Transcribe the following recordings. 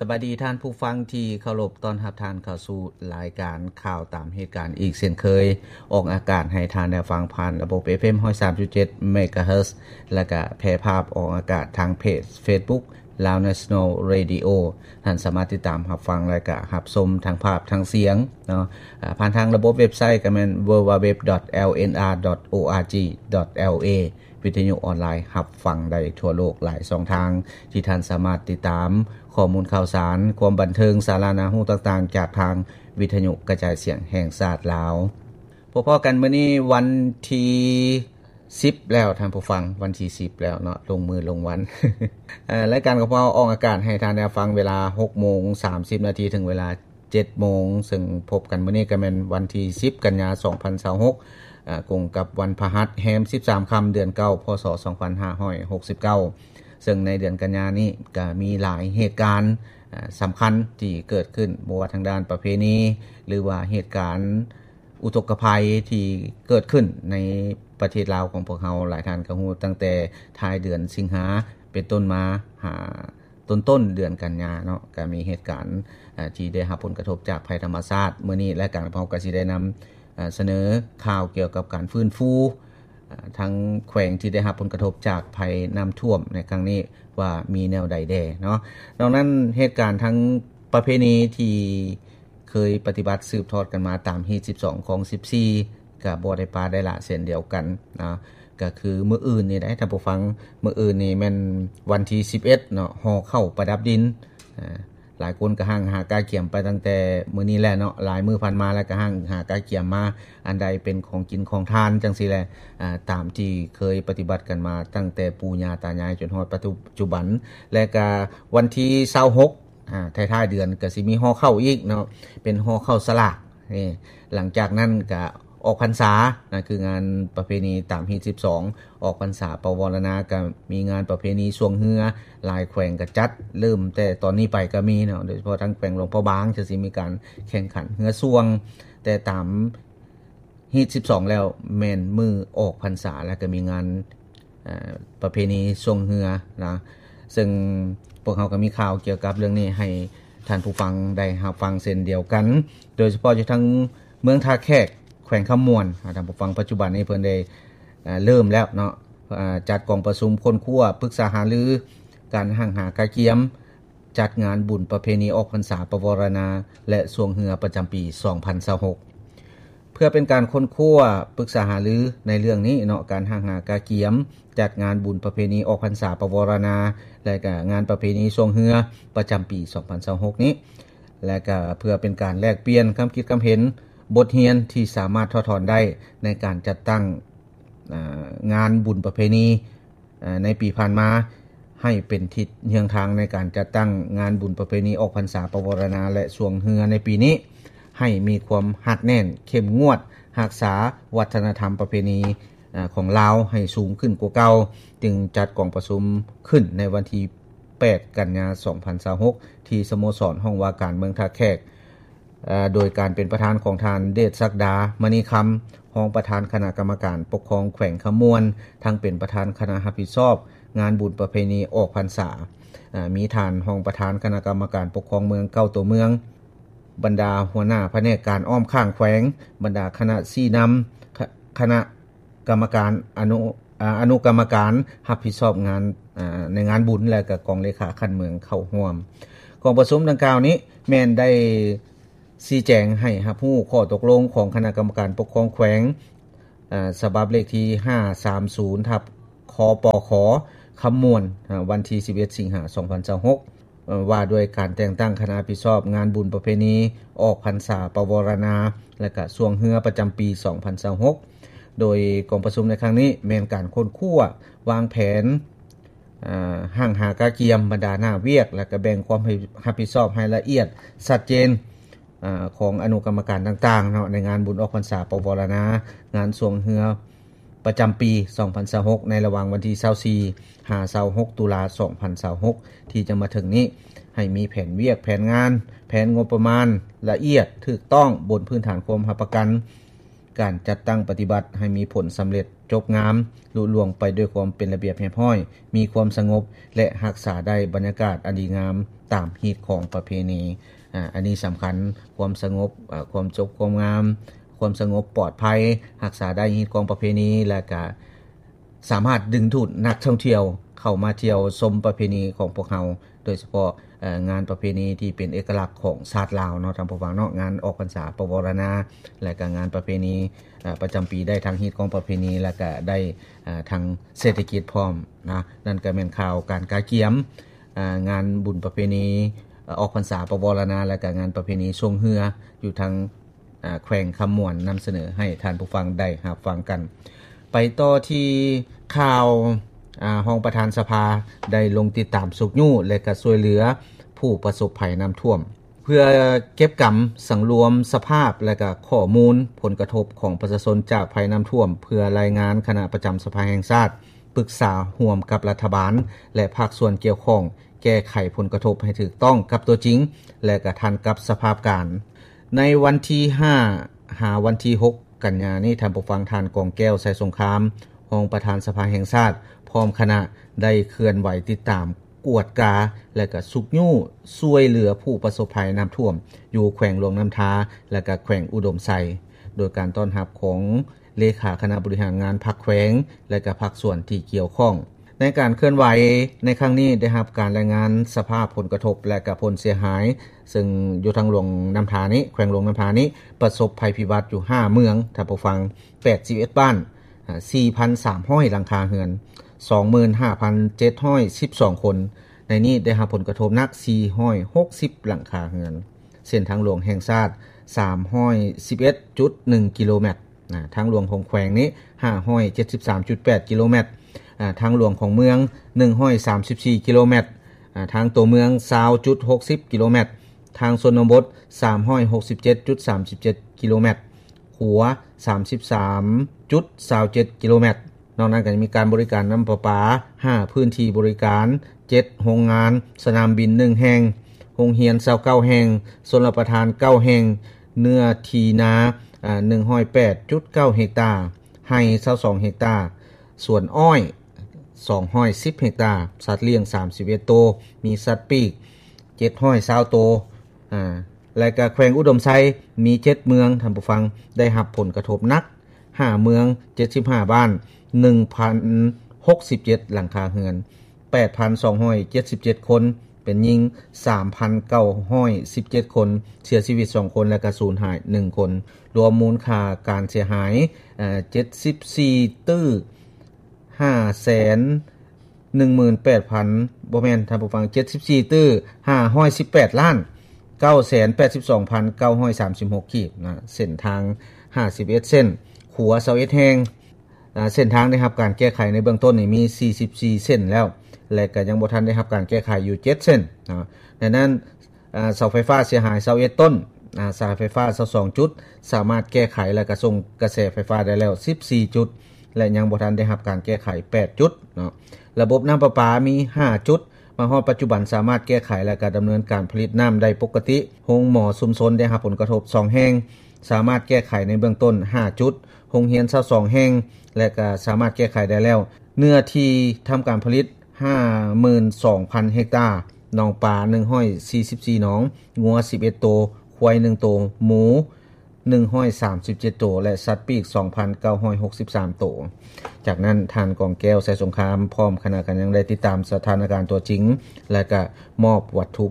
ສະບາຍດີທ່ານຜູ້ຟັງທີ່ເຄົາລົບ, ຕ້ອນຮັບທ່ານເຂົ້າສູ່ລາຍການຂ່າວຕາມເຫດການອີກເຊັ່ນເຄີຍ, ອອກອາກາດໃຫ້ທ່ານໄດ້ຟັງຜ່ານລະບົບ ເອັຟເອັມ ຮ້ອຍສາມຈຸດເຈັດ ເມກາເຮີດ ແລະກະແຜ່ພາບອອກອາກາດທາງເພຈ Facebook Lao National Radio. ທ່ານສາມາດຕິດຕາມຮັບຟັງ ແລະກະຮັບຊົມທັງພາບທັງສຽງເນາະ, ອາ ຜ່ານທາງລະບົບເວັບໄຊກະແມ່ນ www.lnr.org.la. ວິທະຍຸອອນລາຍຮັບຟັງໄດ້ທົ່ວໂລກຫຼາຍຊ່ອງທາງ ທີ່ທ່ານສາມາດຕິດຕາມຂໍ້ມູນຂ່າວສານ, ຄວາມບັນເທີງ, ສາລະໜ້າຮູ້ຕ່າງໆ ຈາກທາງວິທະຍຸກະຈາຍສຽງແຫ່ງຊາດລາວ. ພົບພໍ້ກັນມື້ນີ້ວັນທີສິບແລ້ວທ່ານຜູ້ຟັງ, ວັນທີສິບແລ້ວເນາະ, ລົງມື້ລົງວັນ. ເອີ ລາຍການຂອງພວກເຮົາອອກອາກາດໃຫ້ທ່ານໄດ້ຟັງເວລາຫົກໂມງສາມສິບນາທີ ເຖິງເວລາ ເຈັດໂມງ, ເຊິ່ງພົບກັນມື້ນີ້ກໍແມ່ນວັນທີສິບ ກັນຍາ ສອງພັນຊາວຫົກ ອາ ກົງກັບວັນພະຫັດ ແຮມສິບສາມຄ່ຳ ເດືອນເກົ້າ ພ.ສ. ສອງພັນຫ້າຮ້ອຍຫົກສິບເກົ້າ. ເຊິ່ງໃນເດືອນກັນຍານີ້ກໍມີຫຼາຍເຫດການ ອາ ສຳຄັນທີ່ເກີດຂຶ້ນ, ບໍ່ວ່າທາງດ້ານປະເພນີ ຫຼືວ່າເຫດການອຸທົກກະໄພທີ່ເກີດຂຶ້ນໃນປະເທດລາວຂອງພວກເຮົາ. ຫຼາຍທ່ານກໍຮູ້, ຕັ້ງແຕ່ທ້າຍເດືອນສິງຫາເປັນຕົ້ນມາ ຫາ ຕົ້ນໆເດືອນກັນຍາເນາະ ກໍມີເຫດການ ເອີ ທີ່ໄດ້ຮັບຜົນກະທົບຈາກໄພທຳມະຊາດ. ມື້ນີ້ລາຍການຂອງເຮົາກໍຊິໄດ້ນຳ ເອີ ສະເໜີຂ່າວກ່ຽວກັບການຟື້ນຟູ ເອີ ທັງແຂວງທີ່ໄດ້ຮັບຜົນກະທົບຈາກໄພນ້ຳຖ້ວມໃນຄັ້ງນີ້ ວ່າມີແນວໃດແດ່ເນາະ. ນອກນັ້ນ, ເຫດການທາງປະເພນີທີ່ເຄີຍປະຕິບັດສືບທອດກັນມາຕາມຮີດສິບສອງ ຄອງສິບສີ່ ກະບໍ່ໄດ້ປະໄດ້ລະເຊັ່ນດຽວກັນນະ, ກະຄືມື້ອື່ນນີ້ໄດ໋ທ່ານຜູ້ຟັງ, ມື້ອື່ນນີ້ແມ່ນວັນທີສິບເອັດເນາະ, ຫໍ່ເຂົ້າປະດັບດິນ. ອາ ຫຼາຍຄົນກະຮັ່ງຫາກະກຽມໄປຕັ້ງແຕ່ມື້ນີ້ແຫຼະເນາະ, ຫຼາຍມື້ຜ່ານມາແລ້ວກະຮັ່ງຫາກະກຽມມາ ອັນໃດເປັນຂອງກິນຂອງທານຈັ່ງຊີ້ແຫຼະ, ອາ ຕາມທີ່ເຄີຍປະຕິບັດກັນມາຕັ້ງແຕ່ປູ່ຍ່າຕາຍາຍຈົນຮອດປັດຈຸບັນ. ແລະກະວັນທີຊາວຫົກ ອາ ທ້າຍໆເດືອນກະຊິມີຫໍ່ເຂົ້າອີກເນາະ, ເປັນຫໍ່ເຂົ້າສະຫຼາກ. ນີ້ ຫຼັງຈາກນັ້ນກະອອກພັນສານະ, ຄືງານປະເພນີຕາມຮີດສິບສອງ ອອກພັນສາປະວາລະນາ, ກະມີງານປະເພນີຊ່ວງເຮືອ, ຫຼາຍແຂວງກະຈັດ, ເລີ່ມແຕ່ຕອນນີ້ໄປກະມີເນາະ, ໂດຍສະເພາະທາງແຂວງຫຼວງພະບາງ ຈະຊິມີການແຂ່ງຂັນເຮືອຊ່ວງ, ແຕ່ຕາມ ຮີດສິບສອງແລ້ວແມ່ນມື້ອອກພັນສາ ແລ້ວກໍມີງານ ເອີ ປະເພນີຊ່ວງເຮືອນະ, ເຊິ່ງພວກເຮົາກໍມີຂ່າວກ່ຽວກັບເລື່ອງນີ້ໃຫ້ທ່ານຜູ້ຟັງໄດ້ຮັບຟັງເຊັ່ນດຽວກັນ, ໂດຍສະເພາະຢູ່ທາງເມືອງທ່າແຂກ ແຂວງຄຳມ່ວນ. ອາ ທ່ານຜູ້ຟັງ, ປັດຈຸບັນນີ້ເພິ່ນໄດ້ ເອີ ເລີ່ມແລ້ວເນາະ, ອາ ຈັດກອງປະຊຸມຄົ້ນຄວ້າປຶກສາຫາລືການຮັ່ງຫາກະກຽມ ຈັດງານບຸນປະເພນີອອກພັນສາປະວາລະນາ ແລະ ຊ່ວງເຮືອປະຈຳປີສອງພັນຊາວຫົກ ເພື່ອເປັນການຄົ້ນຄວ້າປຶກສາຫາລືໃນເລື່ອງນີ້ເນາະ, ການຮັ່ງຫາກະກຽມຈັດງານບຸນປະເພນີອອກພັນສາປະວາລະນາ ແລະ ກະງານປະເພນີຊ່ວງເຮືອປະຈຳປີສອງພັນຊາວຫົກນີ້ ແລະ ກະເພື່ອເປັນການແລກປ່ຽນຄຳຄິດຄຳເຫັນ, ບົດຮຽນທີ່ສາມາດຖອດຖອນໄດ້ໃນການຈັດຕັ້ງ ອາ ງານບຸນປະເພນີ ອາ ໃນປີຜ່ານມາ ໃຫ້ເປັນທິດເຮືອງທາງໃນການຈັດຕັ້ງງານບຸນປະເພນີອອກພັນສາປະວາລະນາ ແລະ ຊ່ວງເຮືອໃນປີນີ້ ໃຫ້ມີຄວາມຮັດແໜ້ນເຂັ້ມງວດ, ຮັກສາວັດທະນະທຳປະເພນີ ອາ ຂອງລາວໃຫ້ສູງຂຶ້ນກວ່າເກົ່າ, ຈຶ່ງຈັດກອງປະຊຸມຂຶ້ນໃນວັນທີແປດ ກັນຍາ ສອງພັນຊາວຫົກ ທີ່ສະໂມສອນຫ້ອງວ່າການເມືອງທ່າແຂກ. ເອີ ໂດຍການເປັນປະທານຂອງທ່ານ ເດດສັກດາ ມະນີຄຳ ຮອງປະທານຄະນະກຳມະການປົກຄອງແຂວງຄຳມ່ວນ, ທັງເປັນປະທານຄະນະຮັບຜິດຊອບງານບຸນປະເພນີອອກພັນສາ, ເອີ ມີທ່ານຮອງປະທານຄະນະກຳມະການປົກຄອງເມືອງເກົ້າຕົວເມືອງ, ບັນດາຫົວໜ້າພະແນກການອ້ອມຂ້າງແຂວງ, ບັນດາຄະນະຊີ້ນຳ, ຄະ ຄະນະ ກຳມະການອະນຸ ອາ ອະນຸກຳມະການຮັບຜິດຊອບງານ ອາ ໃນງານບຸນ ແລະ ກະກອງເລຂາຂັ້ນເມືອງເຂົ້າຮ່ວມ. ກອງປະຊຸມດັ່ງກ່າວນີ້ແມ່ນໄດ້ຊີ້ແຈງໃຫ້ຮັບຮູ້ຂໍ້ຕົກລົງຂອງຄະນະກຳມະການປົກຄອງແຂວງ ອາ ສະບັບເລກທີຫ້າສາມສູນ ທັບ ຄປຂ ຄຳມ່ວນ ອາ ວັນທີສິບເອັດ ສິງຫາ ສອງພັນຊາວຫົກ ເອີ ວ່າດ້ວຍການແຕ່ງຕັ້ງຄະນະຮັບຜິດຊອບງານບຸນປະເພນີອອກພັນສາປະວາລະນາ ແລະ ກະຊ່ວງເຮືອປະຈຳປີສອງພັນຊາວຫົກ ໂດຍກອງປະຊຸມໃນຄັ້ງນີ້ແມ່ນການຄົ້ນຄວ້າວາງແຜນ ອາ ຮັ່ງຫາກະກຽມບັນດາໜ້າວຽກ ແລະ ກະແບ່ງຄວາມຮັບຜິດຊອບໃຫ້ລະອຽດຊັດເຈນ ອາ ຂອງອະນຸກຳມະການຕ່າງໆເນາະ ໃນງານບຸນອອກພັນສາປະວາລະນາ, ງານຊ່ວງເຮືອ ປະຈຳປີສອງພັນຊາວຫົກ ໃນລະຫວ່າງວັນທີຊາວສີ່ ຫາ ຊາວຫົກ ຕຸລາ ສອງພັນຊາວຫົກ ທີ່ຈະມາເຖິງນີ້ ໃຫ້ມີແຜນວຽກ, ແຜນງານ, ແຜນງົບປະມານລະອຽດ, ຖືກຕ້ອງ, ບົນພື້ນຖານຄວາມຮັບປະກັນ ການຈັດຕັ້ງປະຕິບັດໃຫ້ມີຜົນສຳເລັດຈົບງາມ, ລຸລ່ວງໄປດ້ວຍຄວາມເປັນລະບຽບຮຽບຮ້ອຍ, ມີຄວາມສະຫງົບ ແລະ ຮັກສາໄດ້ບັນຍາກາດອັນດີງາມຕາມຮີດຄອງປະເພນີ. ອາ ອັນນີ້ສຳຄັນ, ຄວາມສະຫງົບ, ອາ ຄວາມຈົບຄວາມງາມ, ຄວາມສະຫງົບປອດໄພ, ຮັກສາໄດ້ຮີດຄອງປະເພນີ ແລະ ກະ ສາມາດດຶງດູດນັກທ່ອງທ່ຽວເຂົ້າມາທ່ຽວຊົມປະເພນີຂອງພວກເຮົາ, ໂດຍສະເພາະ ເອີ ງານປະເພນີທີ່ເປັນເອກະລັກຂອງຊາດລາວເນາະ ທ່ານຜູ້ຟັງເນາະ, ງານອອກພັນສາປະວາລະນາ ແລະ ກະງານປະເພນີ ເອີ ປະຈຳປີ ໄດ້ທັງຮີດຄອງປະເພນີ ແລະ ກະໄດ້ ເອີ ທັງເສດຖະກິດພ້ອມນະ. ນັ້ນກະແມ່ນຂ່າວການກະກຽມ ເອີ ງານບຸນປະເພນີ ເອີ ອອກພັນສາປະວາລະນາ ແລະ ກະງານປະເພນີຊ່ວງເຮືອ ຢູ່ທາງ ອາ ແຂວງຄຳມ່ວນ ນຳສະເໜີໃຫ້ທ່ານຜູ້ຟັງໄດ້ຮັບຟັງກັນ. ໄປຕໍ່ທີ່ຂ່າວ ອາ ຮອງປະທານສະພາໄດ້ລົງຕິດຕາມຊຸກຍູ້ ແລະ ກະຊ່ວຍເຫຼືອຜູ້ປະສົບໄພນ້ຳຖ້ວມ ເພື່ອເກັບກຳສັງລວມສະພາບ ແລະ ກະຂໍ້ມູນຜົນກະທົບຂອງປະຊາຊົນຈາກໄພນ້ຳຖ້ວມ ເພື່ອລາຍງານຄະນະປະຈຳສະພາແຫ່ງຊາດ ປຶກສາຮ່ວມກັບລັດຖະບານ ແລະ ພາກສ່ວນກ່ຽວຂ້ອງ ແກ້ໄຂຜົນກະທົບໃຫ້ຖືກຕ້ອງກັບຕົວຈິງ ແລະ ກະທັນກັບສະພາບການ. ໃນວັນທີຫ້າ ຫາວັນທີຫົກ ກັນຍານີ້, ທ່ານຜູ້ຟັງ, ທ່ານ ກອງແກ້ວ ໄຊສົງຄາມ ຮອງປະທານສະພາແຫ່ງຊາດ ພ້ອມຄະນະ ໄດ້ເຄື່ອນໄຫວຕິດຕາມ, ກວດກາ ແລະ ກະຊຸກຍູ້ຊ່ວຍເຫຼືອຜູ້ປະສົບໄພນ້ຳຖ້ວມ ຢູ່ແຂວງຫຼວງນ້ຳທາ ແລະ ກະແຂວງອຸດົມໄຊ ໂດຍການຕ້ອນຮັບຂອງ ເລຂາຄະນະບໍລິຫານງານພັກແຂວງ ແລະ ກະພາກສ່ວນທີ່ກ່ຽວຂ້ອງ. ໃນການເຄື່ອນໄຫວໃນຄັ້ງນີ້ ໄດ້ຮັບການລາຍງານສະພາບຜົນກະທົບ ແລະ ກະຜົນເສຍຫາຍ, ເຊິ່ງຢູ່ທາງຫຼວງນ້ຳທານີ້, ແຂວງຫຼວງນ້ຳທານີ້ ປະສົບໄພພິບັດຢູ່ຫ້າເມືອງ, ທ່ານຜູ້ຟັງ, ແປດສິບເອັດບ້ານ, ອາ ສີ່ພັນສາມຮ້ອຍຫຼັງຄາເຮືອນ, ສອງໝື່ນຫ້າພັນເຈັດຮ້ອຍສິບສອງຄົນ. ໃນນີ້ໄດ້ຮັບຜົນກະທົບໜັກ ສີ່ຮ້ອຍຫົກສິບຫຼັງຄາເຮືອນ. ເສັ້ນທາງຫຼວງແຫ່ງຊາດ ສາມຮ້ອຍສິບເອັດຈຸດໜຶ່ງກິໂລແມັດ, ນະ, ທາງຫຼວງຂອງແຂວງນີ້ ຫ້າຮ້ອຍເຈັດສິບສາມຈຸດແປດກິໂລແມັດ, ອາ, ທາງຫຼວງຂອງເມືອງ ໜຶ່ງຮ້ອຍສາມສິບສີ່ກິໂລແມັດ, ອາ, ທາງຕົວເມືອງ ຊາວຈຸດຫົກສິບກິໂລແມັດ, ທາງຊົນນະບົດ ສາມຮ້ອຍຫົກສິບເຈັດຈຸດສາມສິບເຈັດກິໂລແມັດ, ຂົວ ສາມສິບສາມຈຸດຊາວເຈັດກິໂລແມັດ. ນອກນັ້ນກໍຈະມີການບໍລິການນ້ຳປະປາ ຫ້າພື້ນທີ່ບໍລິການ, ເຈັດໂຮງງານ, ສະໜາມບິນໜຶ່ງແຫ່ງ, ໂຮງຮຽນຊາວເກົ້າແຫ່ງ, ຊົນລະປະທານເກົ້າແຫ່ງ, ເນື້ອທີ່ນາ ອາ ໜຶ່ງຮ້ອຍແປດຈຸດເກົ້າເຮັກຕາ, ໄຮ່ຊາວສອງເຮັກຕາ, ສວນອ້ອຍສອງຮ້ອຍສິບເຮັກຕາ, ສັດລ້ຽງສາມສິບເອັດໂຕ, ມີສັດປີກເຈັດຮ້ອຍຊາວໂຕ, ອາ ແລະກະແຂວງອຸດົມໄຊມີເຈັດເມືອງ, ທ່ານຜູ້ຟັງ, ໄດ້ຮັບຜົນກະທົບໜັກ ຫ້າເມືອງ, ເຈັດສິບຫ້າບ້ານ, ໜຶ່ງພັນຫົກສິບເຈັດຫຼັງຄາເຮືອນ, ແປດພັນສອງຮ້ອຍເຈັດສິບເຈັດຄົນ, ເປັນຍິງ ສາມພັນເກົ້າຮ້ອຍສິບເຈັດຄົນ, ເສຍຊີວິດສອງຄົນ ແລະກະສູນຫາຍໜຶ່ງຄົນ. ລວມມູນຄ່າການເສຍຫາຍ ເອີ ເຈັດສິບສີ່ຕື້ ຫ້າແສນໜຶ່ງໝື່ນແປດພັນ ບໍ່ແມ່ນ, ທ່ານຜູ້ຟັງ, ເຈັດສິບສີ່ຕື້ ຫ້າຮ້ອຍສິບແປດລ້ານ ເກົ້າແສນແປດສິບສອງພັນເກົ້າຮ້ອຍສາມສິບຫົກກີບນະ, ເສັ້ນທາງ ຫ້າສິບເອັດເສັ້ນ, ຂົວ ຊາວເອັດແຫ່ງ. ອາ ເສັ້ນທາງໄດ້ຮັບການແກ້ໄຂໃນເບື້ອງຕົ້ນນີ້ມີ ສີ່ສິບສີ່ເສັ້ນແລ້ວ ແລະກະຍັງບໍ່ທັນໄດ້ຮັບການແກ້ໄຂຢູ່ເຈັດເສັ້ນນະ. ດັ່ງນັ້ນ ອາ ເສົາໄຟຟ້າເສຍຫາຍຊາວເອັດຕົ້ນ, ອາ ສາຍໄຟຟ້າຊາວສອງຈຸດ ສາມາດແກ້ໄຂ ແລະກະສົ່ງກະແສໄຟຟ້າໄດ້ແລ້ວສິບສີ່ຈຸດ ແລະຍັງບໍ່ທັນໄດ້ຮັບການແກ້ໄຂແປດຈຸດເນາະ. ລະບົບນ້ຳປະປາມີຫ້າຈຸດ, ມາຮອດປັດຈຸບັນສາມາດແກ້ໄຂ ແລະກະດຳເນີນການຜະລິດນ້ຳໄດ້ປົກກະຕິ. ໂຮງໝໍຊຸມຊົນໄດ້ຮັບຜົນກະທົບສອງແຫ່ງ, ສາມາດແກ້ໄຂໃນເບື້ອງຕົ້ນຫ້າຈຸດ, ໂຮງຮຽນຊາວສອງແຫ່ງ ແລະກະສາມາດແກ້ໄຂໄດ້ແລ້ວ. ເນື້ອທີ່ທຳການຜະລິດ ຫ້າໝື່ນສອງພັນເຮັກຕາ, ໜອງປາໜຶ່ງຮ້ອຍສີ່ສິບສີ່ໜອງ, ງົວສິບເອັດໂຕ, ຄວາຍໜຶ່ງໂຕ, ໝູໜຶ່ງຮ້ອຍສາມສິບເຈັດໂຕ ແລະ ສັດປີກສອງພັນເກົ້າຮ້ອຍຫົກສິບສາມໂຕ. ຈາກນັ້ນ ທ່ານ ກອງແກ້ວ ໄຊສົງຄາມ ພ້ອມຄະນະກໍຍັງໄດ້ຕິດຕາມສະຖານະການຕົວຈິງ ແລະກະມອບວັດຖຸ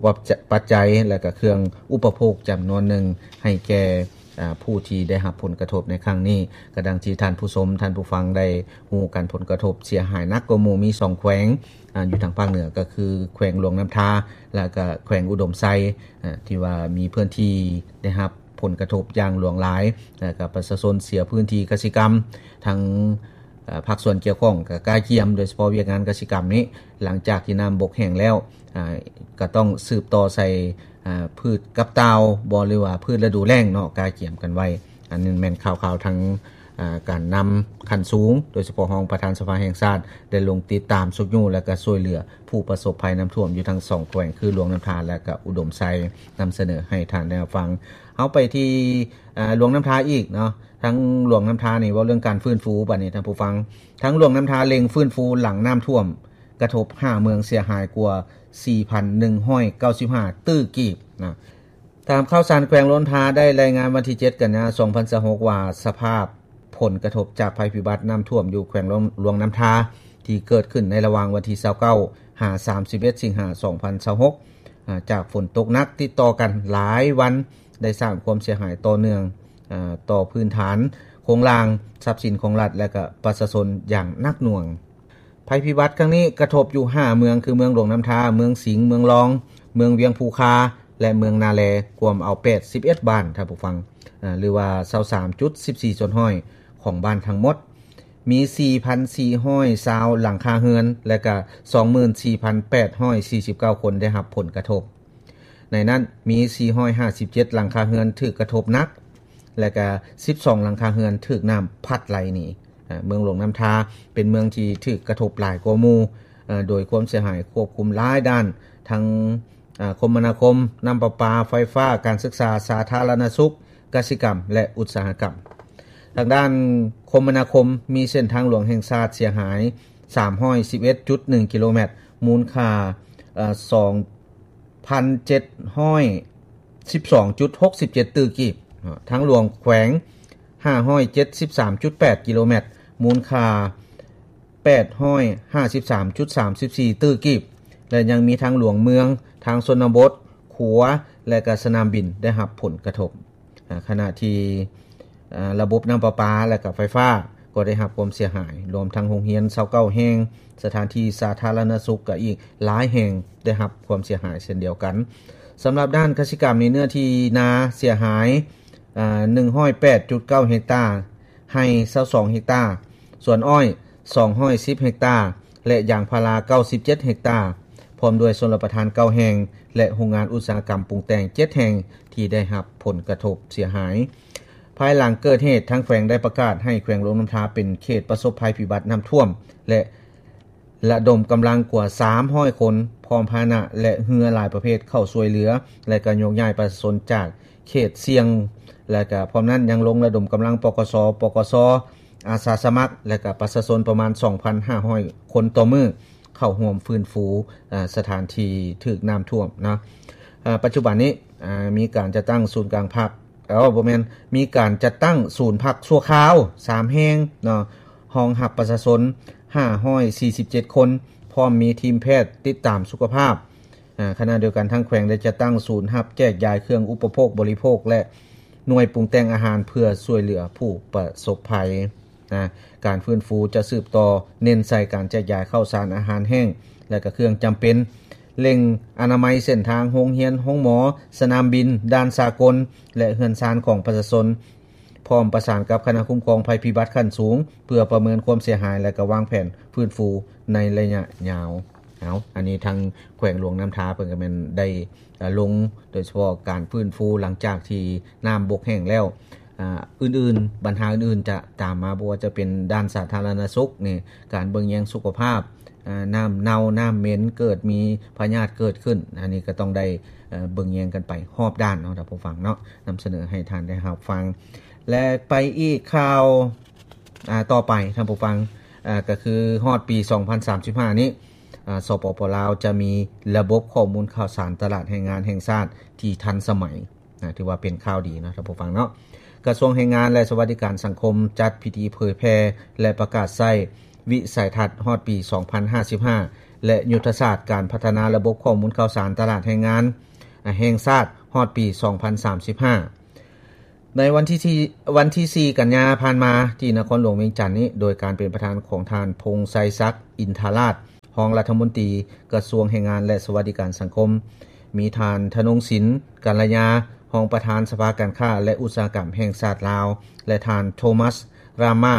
ປັດໄຈ ແລະກະເຄື່ອງອຸປະໂພກຈຳນວນໜຶ່ງໃຫ້ແກ່ ອາ ຜູ້ທີ່ໄດ້ຮັບຜົນກະທົບໃນຄັ້ງນີ້. ກໍດັ່ງທີ່ທ່ານຜູ້ຊົມ, ທ່ານຜູ້ຟັງໄດ້ຮູ້ກັນ, ຜົນກະທົບເສຍຫາຍໜັກກວ່າໝູ່ມີສອງແຂວງ ອາ ຢູ່ທາງພາກເໜືອ ກໍຄືແຂວງຫຼວງນ້ຳທາ ແລະກະແຂວງອຸດົມໄຊ ອາ ທີ່ວ່າມີພື້ນທີ່ໄດ້ຮັບຜົນກະທົບຢ່າງຫຼວງຫຼາຍ ແລະກະປະຊາຊົນເສຍພື້ນທີ່ກະສິກຳ. ທາງ ອາ ພາກສ່ວນກ່ຽວຂ້ອງກໍກະກຽມ, ໂດຍສະເພາະວຽກງານກະສິກຳນີ້ ຫຼັງຈາກທີ່ນ້ຳບົກແຫ້ງແລ້ວ ອາ ກໍຕ້ອງສືບຕໍ່ໃສ່ ອາ ພືດກັບຕ່າວບໍ ຫຼືວ່າພືດລະດູແລ້ງເນາະ, ກະກຽມກັນໄວ້. ອັນນີ້ແມ່ນຂ່າວໆທາງ ອາ ການນຳຂັ້ນສູງ ໂດຍສະເພາະຮອງປະທານສະພາແຫ່ງຊາດ ໄດ້ລົງຕິດຕາມຊຸກຍູ້ ແລະ ກະຊ່ວຍເຫຼືອຜູ້ປະສົບໄພນ້ຳຖ້ວມຢູ່ທັງສອງແຂວງ ຄືຫຼວງນ້ຳທາ ແລະ ກະອຸດົມໄຊ ນຳສະເໜີໃຫ້ທ່ານໄດ້ຮັບຟັງ. ເຮົາໄປທີ່ ອາ ຫຼວງນ້ຳທາອີກເນາະ. ທາງຫຼວງນ້ຳທານີ້ ເວົ້າເລື່ອງການຟື້ນຟູບາດນີ້ທ່ານຜູ້ຟັງ, ທາງຫຼວງນ້ຳທາເລັ່ງຟື້ນຟູຫຼັງນ້ຳຖ້ວມ ກະທົບຫ້າເມືອງເສຍຫາຍກວ່າສີ່ພັນໜຶ່ງຮ້ອຍເກົ້າສິບຫ້າຕື້ກີບນະ. ຕາມຂ່າວສານແຂວງຫຼວງນ້ຳທາໄດ້ລາຍງານວັນທີເຈັດ ກັນຍາ ສອງພັນຊາວຫົກ ວ່າ ສະພາບຜົນກະທົບຈາກໄພພິບັດນ້ຳຖ້ວມຢູ່ແຂວງຫຼວງ ຫຼວງນ້ຳທາ ທີ່ເກີດຂຶ້ນໃນລະຫວ່າງວັນທີຊາວເກົ້າ ຫາ ສາມສິບເອັດ ສິງຫາ ສອງພັນຊາວຫົກ ອາ ຈາກຝົນຕົກໜັກຕິດຕໍ່ກັນຫຼາຍວັນ ໄດ້ສ້າງຄວາມເສຍຫາຍຕໍ່ເນື່ອງ ອາ ຕໍ່ພື້ນຖານໂຄງລ່າງ, ຊັບສິນຂອງລັດ ແລະ ກະປະຊາຊົນຢ່າງໜັກໜ່ວງ. ໄພພິບັດຄັ້ງນີ້ກະທົບຢູ່ຫ້າເມືອງ ຄື ເມືອງຫຼວງນ້ຳທາ, ເມືອງສິງ, ເມືອງລອງ, ເມືອງວຽງພູຄາ ແລະ ເມືອງນາແລ, ກວມເອົາແປດສິບເອັດບ້ານ, ທ່ານຜູ້ຟັງ, ອາ ຫຼືວ່າ ຊາວສາມຈຸດສິບສີ່ສ່ວນຮ້ອຍຂອງບ້ານທັງໝົດ. ມີສີ່ພັນສີ່ຮ້ອຍຊາວຫຼັງຄາເຮືອນ ແລະ ກະສອງໝື່ນສີ່ພັນແປດຮ້ອຍສີ່ສິບເກົ້າຄົນໄດ້ຮັບຜົນກະທົບ. ໃນນັ້ນມີສີ່ຮ້ອຍຫ້າສິບເຈັດຫຼັງຄາເຮືອນຖືກກະທົບໜັກ ແລະ ກະສິບສອງຫຼັງຄາເຮືອນຖືກນ້ຳພັດໄຫຼໜີ. ອາ ເມືອງຫຼວງນ້ຳທາເປັນເມືອງທີ່ຖືກກະທົບຫຼາຍກວ່າໝູ່ ອາ ໂດຍຄວາມເສຍຫາຍຄວບຄຸມຫຼາຍດ້ານ ທັງ ອາ ຄົມມະນາຄົມ, ນ້ຳປະປາ, ໄຟຟ້າ, ການສຶກສາ, ສາທາລະນະສຸກ, ກະສິກຳ ແລະ ອຸດສາຫະກຳ. ທາງດ້ານຄົມມະນາຄົມ ມີເສັ້ນທາງຫຼວງແຫ່ງຊາດເສຍຫາຍສາມຮ້ອຍສິບເອັດຈຸດໜຶ່ງກິໂລແມັດ ມູນຄ່າ ເອີ ສອງພັນເຈັດຮ້ອຍສິບສອງຈຸດຫົກສິບເຈັດຕື້ກີບ, ທາງຫຼວງແຂວງຫ້າຮ້ອຍເຈັດສິບສາມຈຸດແປດກິໂລແມັດ ມູນຄ່າ ແປດຮ້ອຍຫ້າສິບສາມຈຸດສາມສິບສີ່ຕື້ກີບ ແລະ ຍັງມີທາງຫຼວງເມືອງ, ທາງຊົນນະບົດ, ຂົວ ແລະ ກະສະໜາມບິນໄດ້ຮັບຜົນກະທົບ. ອາ ຂະນະທີ່ ອາ ລະບົບນ້ຳປະປາ ແລະ ກະໄຟຟ້າກໍໄດ້ຮັບຄວາມເສຍຫາຍ, ລວມທັງໂຮງຮຽນຊາວເກົ້າແຫ່ງ, ສະຖານທີ່ສາທາລະນະສຸກກະອີກຫຼາຍແຫ່ງໄດ້ຮັບຄວາມເສຍຫາຍເຊັ່ນດຽວກັນ. ສຳລັບດ້ານກະສິກຳນີ້ ເນື້ອທີ່ນາເສຍຫາຍ ອາ ໜຶ່ງຮ້ອຍແປດຈຸດເກົ້າເຮັກຕາ, ໄຮ່ຊາວສອງເຮັກຕາ, ສວນອ້ອຍສອງຮ້ອຍສິບເຮັກຕາ ແລະ ຢາງພາລາເກົ້າສິບເຈັດເຮັກຕາ, ພ້ອມດ້ວຍຊົນລະປະທານເກົ້າແຫ່ງ ແລະ ໂຮງງານອຸດສາຫະກຳປຸງແຕ່ງເຈັດແຫ່ງທີ່ໄດ້ຮັບຜົນກະທົບເສຍຫາຍ. ພາຍຫຼັງເກີດເຫດ, ທາງແຂວງໄດ້ປະກາດໃຫ້ແຂວງຫຼວງນ້ຳທາເປັນເຂດປະສົບໄພພິບັດນ້ຳຖ້ວມ ແລະ ລະດົມກຳລັງກວ່າສາມຮ້ອຍຄົນ ພ້ອມພາຫະນະ ແລະ ເຮືອຫຼາຍປະເພດເຂົ້າຊ່ວຍເຫຼືອ ແລະ ກະໂຍກຍ້າຍປະຊາຊົນຈາກເຂດສ່ຽງ ແລະ ກະພ້ອມນັ້ນຍັງລົງລະດົມກຳລັງ ປກສ, ປກສ, ອາສາສະໝັກ ແລະ ກະປະຊາຊົນປະມານສອງພັນຫ້າຮ້ອຍຄົນຕໍ່ມື້ ເຂົ້າຮ່ວມຟື້ນຟູ ອາ ສະຖານທີ່ຖືກນ້ຳຖ້ວມເນາະ. ອາ ປັດຈຸບັນນີ້ ອາ ມີການຈັດຕັ້ງສູນກາງພັກ ເອີ ບໍ່ແມ່ນ ມີການຈັດຕັ້ງສູນພັກຊົ່ວຄາວສາມແຫ່ງເນາະ, ຮອງຮັບປະຊາຊົນຫ້າຮ້ອຍສີ່ສິບເຈັດຄົນ, ພ້ອມມີທີມແພດຕິດຕາມສຸຂະພາບ. ອາ ຂະນະດຽວກັນ ທາງແຂວງໄດ້ຈັດຕັ້ງສູນຮັບແຈກຢາຍເຄື່ອງອຸປະໂພກບໍລິໂພກ ແລະ ໜ່ວຍປຸງແຕ່ງອາຫານເພື່ອຊ່ວຍເຫຼືອຜູ້ປະສົບໄພ. ນະ ການຟື້ນຟູຈະສືບຕໍ່ເນັ້ນໃສ່ການແຈກຢາຍເຂົ້າສານອາຫານແຫ້ງ ແລະ ກະເຄື່ອງຈຳເປັນ, ເລັ່ງອະນາໄມເສັ້ນທາງ, ໂຮງຮຽນ, ໂຮງໝໍ, ສະໜາມບິນ, ດ່ານສາກົນ ແລະ ເຮືອນຊານຂອງປະຊາຊົນ, ພ້ອມປະສານກັບຄະນະຄຸ້ມຄອງໄພພິບັດຂັ້ນສູງ ເພື່ອປະເມີນຄວາມເສຍຫາຍ ແລະ ກະວາງແຜນຟື້ນຟູໃນໄລຍະຍາວ. ເອົາ ອັນນີ້ທາງແຂວງຫຼວງນ້ຳທາເພິ່ນກະແມ່ນໄດ້ ອາ ລົງ ໂດຍສະເພາະການຟື້ນຟູຫຼັງຈາກທີ່ນ້ຳບົກແຫ້ງແລ້ວ. ອາ ອື່ນໆ ບັນຫາອື່ນໆຈະຕາມມາ, ບໍ່ວ່າຈະເປັນດ້ານສາທາລະນະສຸກນີ້, ການເບິ່ງແຍງສຸຂະພາບ, ອາ ນ້ຳເນົ່າ, ນ້ຳເໝັນ, ເກີດມີພະຍາດເກີດຂຶ້ນ, ອັນນີ້ກະຕ້ອງໄດ້ ເອີ ເບິ່ງແຍງກັນໄປຮອບດ້ານເນາະ ທ່ານຜູ້ຟັງເນາະ, ນຳສະເໜີໃຫ້ທ່ານໄດ້ຮັບຟັງ. ແລະ ໄປອີກຂ່າວ ອາ ຕໍ່ໄປ ທ່ານຜູ້ຟັງ, ອາ ກະຄືຮອດປີສອງພັນສາມສິບຫ້ານີ້ ອາ ສປປ ລາວ ຈະມີລະບົບຂໍ້ມູນຂ່າວສານຕະຫຼາດແຮງງານແຫ່ງຊາດທີ່ທັນສະໄໝ, ນະ ຖືວ່າເປັນຂ່າວດີເນາະ ທ່ານຜູ້ຟັງເນາະ. ກະຊວງແຮງງານ ແລະ ສະຫວັດດີການສັງຄົມ ຈັດພິທີເຜີຍແຜ່ ແລະ ປະກາດໃຊ້ວິໄສທັດຮອດປີສອງພັນຫ້າສິບຫ້າ ແລະ ຍຸດທະສາດການພັດທະນາລະບົບຂໍ້ມູນຂ່າວສານຕະຫຼາດແຮງງານ ອາ ແຫ່ງຊາດຮອດປີສອງພັນສາມສິບຫ້າ. ໃນວັນທີສີ່ ວັນທີສີ່ ກັນຍາຜ່ານມາ ທີ່ນະຄອນຫຼວງວຽງຈັນນີ້ ໂດຍການເປັນປະທານຂອງທ່ານ ພົງໄຊສັກ ອິນທະລາດ ຮອງລັດຖະມົນຕີກະຊວງແຮງງານ ແລະ ສະຫວັດດີການສັງຄົມ, ມີທ່ານ ທະນົງສິນ ກັນລະຍາ ຮອງປະທານສະພາການຄ້າ ແລະ ອຸດສາຫະກຳແຫ່ງຊາດລາວ ແລະ ທ່ານ ໂທມັສ ຣາມາ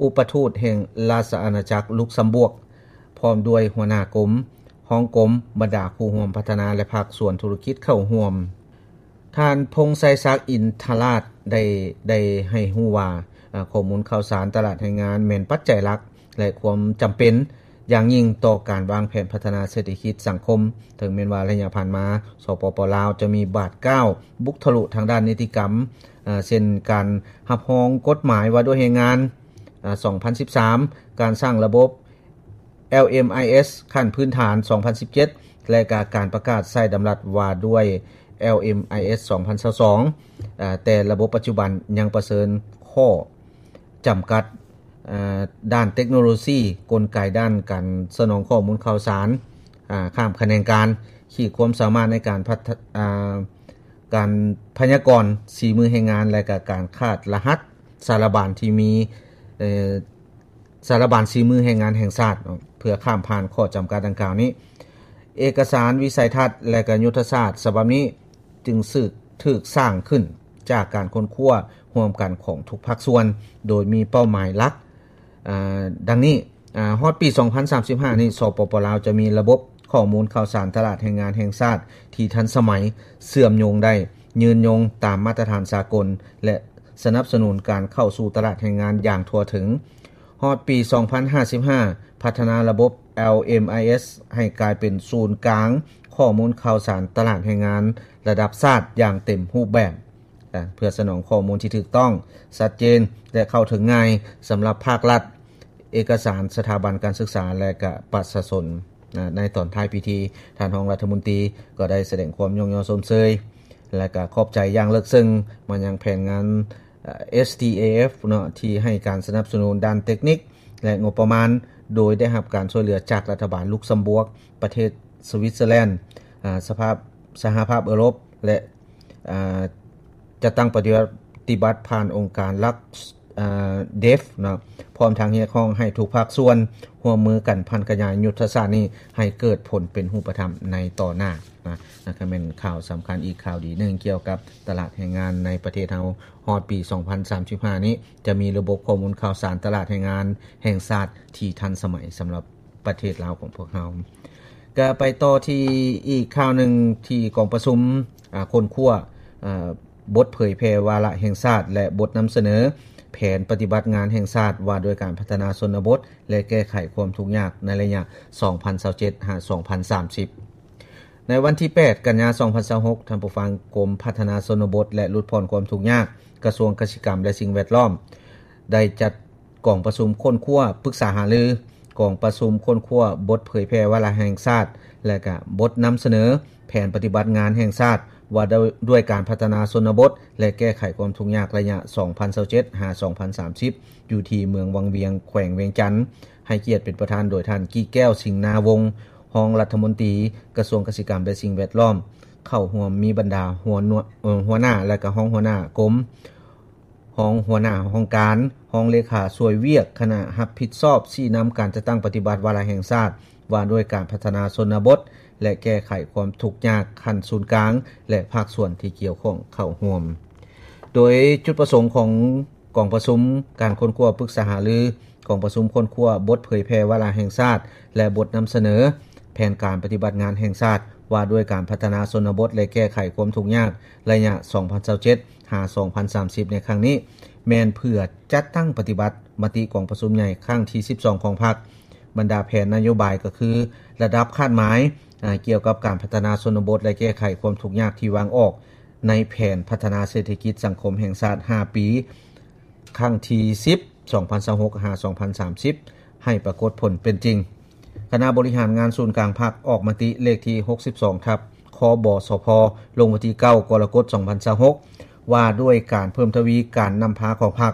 ອຸປະທູດແຫ່ງລາຊະອານາຈັກລຸກຊຳບວກ ພ້ອມດ້ວຍຫົວໜ້າກົມ, ຮອງກົມ, ບັນດາຄູ່ຮ່ວມພັດທະນາ ແລະ ພາກສ່ວນທຸລະກິດເຂົ້າຮ່ວມ. ທ່ານ ພົງໄຊສັກ ອິນທະລາດ ໄດ້ ໄດ້ໃຫ້ຮູ້ວ່າ ອາ ຂໍ້ມູນຂ່າວສານຕະຫຼາດແຮງງານແມ່ນປັດໄຈຫຼັກ ແລະ ຄວາມຈຳເປັນຢ່າງຍິ່ງຕໍ່ການວາງແຜນພັດທະນາເສດຖະກິດສັງຄົມ. ເຖິງແມ່ນວ່າໄລຍະຜ່ານມາ ສປປ ລາວ ຈະມີບາດກ້າວບຸກທະລຸທາງດ້ານນິຕິກຳ ອາ ເຊັ່ນ ການຮັບຮອງກົດໝາຍວ່າດ້ວຍແຮງງານ ອາ ສອງພັນສິບສາມ, ການສ້າງລະບົບ ແອລເອັມໄອເອສ ຂັ້ນພື້ນຖານ ສອງພັນສິບເຈັດ ແລະ ກະການປະກາດໃຊ້ດຳລັດວ່າດ້ວຍ ແອລເອັມໄອເອສ ສອງພັນຊາວສອງ, ອາ ແຕ່ລະບົບປັດຈຸບັນຍັງປະເຊີນຂໍ້ຈຳກັດ ອາ ດ້ານເຕັກໂນໂລຊີ, ກົນໄກດ້ານການສະໜອງຂໍ້ມູນຂ່າວສານ ອາ ຂ້າມຂະແໜງການ, ຂີດຄວາມສາມາດໃນການພັດທະ ອາ ການພະຍາກອນສີມືແຮງງານ ແລະ ກະການຂາດລະຫັດສາລະບານທີ່ມີ ເອີ ສາລະບານສີມືແຮງງານແຫ່ງຊາດເນາະ ເພື່ອຂ້າມຜ່ານຂໍ້ຈຳກັດດັ່ງກ່າວນີ້. ເອກະສານວິໄສທັດ ແລະ ກະຍຸດທະສາດສະບັບນີ້ຈຶ່ງສືກ ຖືກສ້າງຂຶ້ນຈາກການຄົ້ນຄວ້າຮ່ວມກັນຂອງທຸກພາກສ່ວນ ໂດຍມີເປົ້າໝາຍຫຼັກ ອາ ດັ່ງນີ້. ອາ ຮອດປີສອງພັນສາມສິບຫ້ານີ້ ສປປ ລາວ ຈະມີລະບົບຂໍ້ມູນຂ່າວສານຕະຫຼາດແຮງງານແຫ່ງຊາດທີ່ທັນສະໄໝ, ເຊື່ອມໂຍງໄດ້, ຍືນຍົງຕາມມາດຕະຖານສາກົນ ແລະ ສະໜັບສະໜູນການເຂົ້າສູ່ຕະຫຼາດແຮງງານຢ່າງທົ່ວເຖິງ. ຮອດປີສອງພັນຫ້າສິບຫ້າ ພັດທະນາລະບົບ ແອລເອັມໄອເອສ ໃຫ້ກາຍເປັນສູນກາງຂໍ້ມູນຂ່າວສານຕະຫຼາດແຮງງານລະດັບຊາດຢ່າງເຕັມຮູບແບບ ເພື່ອສະໜອງຂໍ້ມູນທີ່ຖືກຕ້ອງ, ຊັດເຈນ ແລະ ເຂົ້າເຖິງງ່າຍສຳລັບພາກລັດ, ເອກະສານ, ສະຖາບັນການສຶກສາ ແລະ ກະປະຊາຊົນ. ໃນຕອນທ້າຍພິທີ, ທ່ານຮອງລັດຖະມົນຕີກໍໄດ້ສະແດງຄວາມຍ້ອງຍໍຊົມເຊີຍ ແລະ ກະຂອບໃຈຢ່າງເລິກເຊິ່ງມາຍັງແຜນງານ ເອສທີເອເອັຟ ເນາະ ທີ່ໃຫ້ການສະໜັບສະໜູນດ້ານເຕັກນິກ ແລະ ງົບປະມານ ໂດຍໄດ້ຮັບການຊ່ວຍເຫຼືອຈາກລັດຖະບານລຸກຊຳບວກ, ປະເທດສະວິດເຊີແລນ, ອາ ສະພາບ ສະຫະພາບເອີຣົບ ແລະ ອາ ຈັດຕັ້ງປະຕິບັດ ປະຕິບັດຜ່ານອົງການລັກ ອາ ເດຟ ເນາະ ພ້ອມທັງຮຽກຮ້ອງໃຫ້ທຸກພາກສ່ວນຮ່ວມມືກັນຜັນຂະຫຍາຍຍຸດທະສາດນີ້ໃຫ້ເກີດຜົນເປັນຮູບປະທຳໃນຕໍ່ໜ້ານະ. ນັ້ນກໍແມ່ນຂ່າວສຳຄັນອີກຂ່າວດີໜຶ່ງກ່ຽວກັບຕະຫຼາດແຮງງານໃນປະເທດເຮົາ. ຮອດປີສອງພັນສາມສິບຫ້ານີ້ ຈະມີລະບົບຂໍ້ມູນຂ່າວສານຕະຫຼາດແຮງງານແຫ່ງຊາດທີ່ທັນສະໄໝສຳລັບປະເທດລາວຂອງພວກເຮົາ. ກະໄປຕໍ່ທີ່ອີກຂ່າວໜຶ່ງ ທີ່ກອງປະຊຸມ ອາ ຄົ້ນຄວ້າ ອາ ບົດເຜີຍແຜ່ວາລະແຫ່ງຊາດ ແລະ ບົດນຳສະເໜີແຜນປະຕິບັດງານແຫ່ງຊາດວ່າດ້ວຍການພັດທະນາຊົນນະບົດ ແລະ ແກ້ໄຂຄວາມທຸກຍາກໃນໄລຍະສອງພັນຊາວເຈັດ ຫາ ສອງພັນສາມສິບ. ໃນວັນທີແປດ ກັນຍາ ສອງພັນຊາວຫົກ ທ່ານຜູ້ຟັງ, ກົມພັດທະນາຊົນນະບົດ ແລະ ຫຼຸດຜ່ອນຄວາມທຸກຍາກ ກະຊວງກະສິກຳ ແລະ ສິ່ງແວດລ້ອມ ໄດ້ຈັດກອງປະຊຸມຄົ້ນຄວ້າປຶກສາຫາລື ກອງປະຊຸມຄົ້ນຄວ້າບົດເຜີຍແຜ່ວາລະແຫ່ງຊາດ ແລະ ກະບົດນຳສະເໜີແຜນປະຕິບັດງານແຫ່ງຊາດ ວ່າດ້ວຍ ດ້ວຍການພັດທະນາຊົນນະບົດ ແລະ ແກ້ໄຂຄວາມທຸກຍາກໄລຍະສອງພັນຊາວເຈັດ ຫາ ສອງພັນສາມສິບ ຢູ່ທີ່ເມືອງວັງວຽງ ແຂວງວຽງຈັນ. ໃຫ້ກຽດເປັນປະທານໂດຍທ່ານ ກີແກ້ວ ສິງນາວົງ ຮອງລັດຖະມົນຕີກະຊວງກະສິກຳ ແລະ ສິ່ງແວດລ້ອມ. ເຂົ້າຮ່ວມມີບັນດາຫົວໜ່ວຍ ເອີ ຫົວໜ້າ ແລະ ກະຮອງຫົວໜ້າກົມ, ຮອງຫົວໜ້າຫ້ອງການ, ຮອງເລຂາຊ່ວຍວຽກຄະນະຮັບຜິດຊອບຊີ້ນຳການຈັດຕັ້ງປະຕິບັດວາລະແຫ່ງຊາດ ວ່າດ້ວຍການພັດທະນາຊົນນະບົດ ແລະ ແກ້ໄຂຄວາມທຸກຍາກຂັ້ນສູນກາງ ແລະ ພາກສ່ວນທີ່ກ່ຽວຂ້ອງເຂົ້າຮ່ວມ. ໂດຍຈຸດປະສົງຂອງກອງປະຊຸມການຄົ້ນຄວ້າປຶກສາຫາລື ກອງປະຊຸມຄົ້ນຄວ້າບົດເຜີຍແຜ່ວາລະແຫ່ງຊາດ ແລະ ບົດນຳສະເໜີແຜນການປະຕິບັດງານແຫ່ງຊາດ ວ່າດ້ວຍການພັດທະນາຊົນນະບົດ ແລະ ແກ້ໄຂຄວາມທຸກຍາກໄລຍະສອງພັນຊາວເຈັດ ຫາ ສອງພັນສາມສິບ ໃນຄັ້ງນີ້ ແມ່ນເພື່ອຈັດຕັ້ງປະຕິບັດມະຕິກອງປະຊຸມໃຫຍ່ຄັ້ງທີສິບສອງຂອງພັກ. ບັນດາແຜນນະໂຍບາຍກໍຄືລະດັບຄາດໝາຍ ອາ ກ່ຽວກັບການພັດທະນາຊົນນະບົດ ແລະ ແກ້ໄຂຄວາມທຸກຍາກທີ່ວາງອອກໃນແຜນພັດທະນາເສດຖະກິດສັງຄົມແຫ່ງຊາດຫ້າປີ ຄັ້ງທີສິບ ສອງພັນຊາວຫົກ ຫາ ສອງພັນສາມສິບ ໃຫ້ປາກົດຜົນເປັນຈິງ. ຄະນະບໍລິຫານງານສູນກາງພັກອອກມະຕິເລກທີຫົກສິບສອງ ທັບ ຄບສພ ລົງວັນທີເກົ້າ ກໍລະກົດ ສອງພັນຊາວຫົກ ວ່າດ້ວຍການເພີ່ມທະວີການນຳພາຂອງພັກ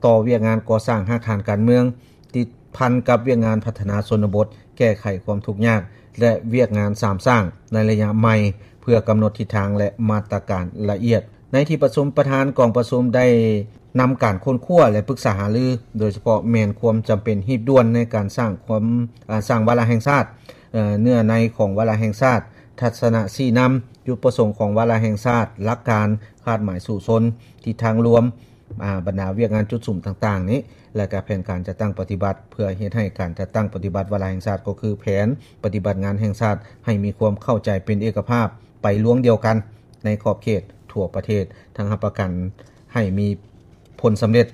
ຕໍ່ວຽກງານກໍ່ສ້າງຮາກຖານການເມືອງ ຕິດພັນກັບວຽກງານພັດທະນາຊົນນະບົດ, ແກ້ໄຂຄວາມທຸກຍາກ ແລະ ວຽກງານສາມສ້າງໃນໄລຍະໃໝ່ ເພື່ອກຳນົດທິດທາງ ແລະ ມາດຕະການລະອຽດ. ໃນທີ່ປະຊຸມ, ປະທານກອງປະຊຸມໄດ້ນຳການຄົ້ນຄວ້າ ແລະ ປຶກສາຫາລື, ໂດຍສະເພາະແມ່ນຄວາມຈຳເປັນຮີບດ່ວນໃນການສ້າງຄວາມ, ອາ, ສ້າງວາລະແຫ່ງຊາດ, ເນື້ອໃນຂອງວາລະແຫ່ງຊາດ, ທັດສະນະຊີ້ນຳ, ຈຸດປະສົງຂອງວາລະແຫ່ງຊາດ, ຫຼັກການ, ຄາດໝາຍສູ້ຊົນ, ທິດທາງລວມ, ອາ, ບັນດາວຽກງານຈຸດສຸມຕ່າງໆນີ້ ແລະ ກະແຜນການຈັດຕັ້ງປະຕິບັດ ເພື່ອເຮັດໃຫ້ການຈັດຕັ້ງປະຕິບັດວາລະແຫ່ງຊາດ ກໍຄືແຜນປະຕິບັດງານແຫ່ງຊາດ ໃຫ້ມີຄວາມເຂົ້າໃຈເປັນເອກະພາບ ໄປລວງດຽວກັນໃນຂອບເຂດທົ່ວປະເທດ, ທັງຮັບປະກັນໃຫ້ມີຜົນສຳເລັດ